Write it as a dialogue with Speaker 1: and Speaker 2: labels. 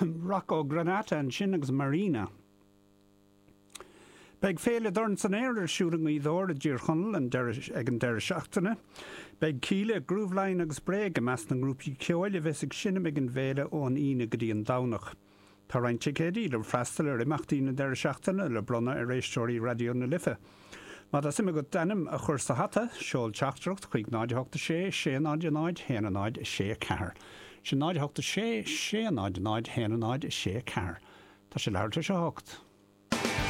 Speaker 1: Rocco Granata ansin agus Marina. Beidh Féile Dorn san Aer ar siúl i nGaoth Dobhair i dTír Chonaill an deireadh ag an deireadh seachtaine. Beidh Kíla, Grooveline agus Bréag i measc na ngrúpaí ceoil a bheas ag seinm ag an bhféile ón Aoine go dtí an Domhnach. Tá roinnt ticéidí le freastal ar imeachtaí na deireadh seachtaine le bronnadh ar éisteoirí Raidió na Life. Má tá suim agat d'ainm a chur sa hata, seol teachtaireacht chuig 0 8 6 6 0 0 1 0 6 4. Sin 0 8 6 6 0 0 1 0 6 4. Tá sé leathuair tar éis a hocht.